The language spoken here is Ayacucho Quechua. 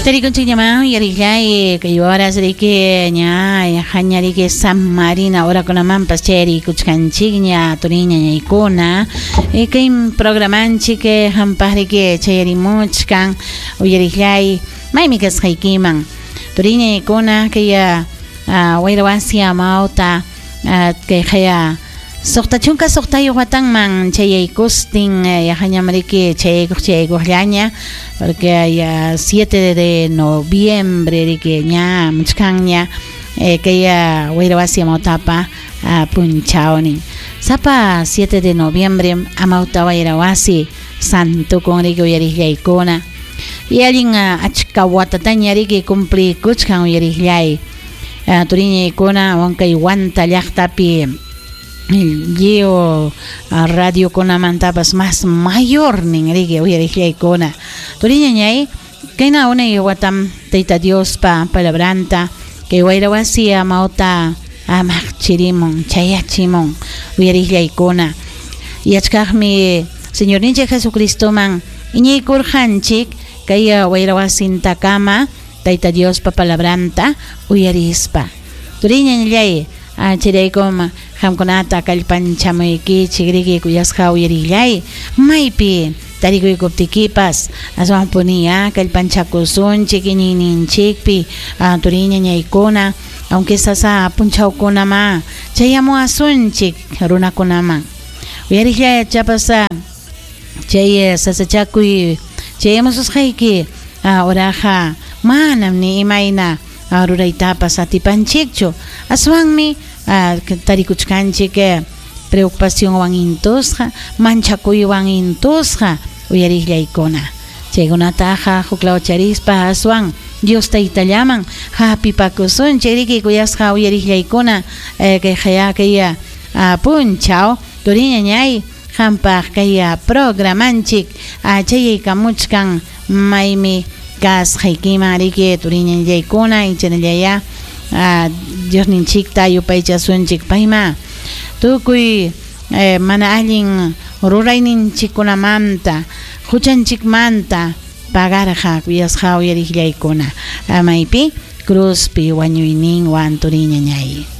Tarikunchikñamá uyarillay kay horas riki ña yajaña riki samarina horakunamanpas chayarikuchkanchikña turiñañaykuna kay programanchik hampaq riki chayarimuchkan uyarillay maymi kasqaykiman turiñañaykuna kay wayra wasi amawta kay qaya 66 watanman chayaykustin yajañam riki chayaykuq chayaykuqllaña porque ya 7 de noviembre riki ña muchkanña kay wayra wasi amawtapa punchawnin sapa 7 de noviembre amawta wayra wasi santukun riki uyariqllaykuna y allin achka watataña riki cumplikuchkan uyariqllay turiñaykuna wankay Huanta llaqtapi lliw radiokunamantapas mas mayornin riki uyariqllaykuna turiñañay kayna unay watam Tayta Diospa palabranta kay wayra wasi amawta amaqchirimun chayachimun uyariqllaykuna yachkaqmi Señorninchik Jesucristoman iñiykurqanchik kay wayra wasintakama Tayta Diospa palabranta uyarispa turiñañallay chayraykum qamkunata kallpanchamuykichik riki kuyasqa uyarillay maypi tarikuykuptikipas aswanpuni kallpanchakusunchik iñiyninchikpi turiñañaykuna aunque sasa punchawkunama chayamuwasunchik runakunaman uyarillay chapas chay sasachakuy chayamususqayki oraqa manam ni imayna ruraytapas atipanchikchu aswanmi tarikuchkanchik preocupacionwan intusqa manchakuywan intusqa uyariqllaykuna chaykunataqa huklaw charispa aswan Dios taytallaman hapipakusunchik riki kuyasqa uyariqllaykuna kay qaya kay punchaw turiñañay hampaq kay programanchik chayaykamuchkan maymi kasqaykiman riki turiñañaykuna ichanallaya Diosninchikta yupaychasunchik payma tukuy mana allin rurayninchikkunamanta huchanchikmanta pagarqa kuyasqa uyariqllaykuna maypi cruzpi wañuyninwan turiñañay.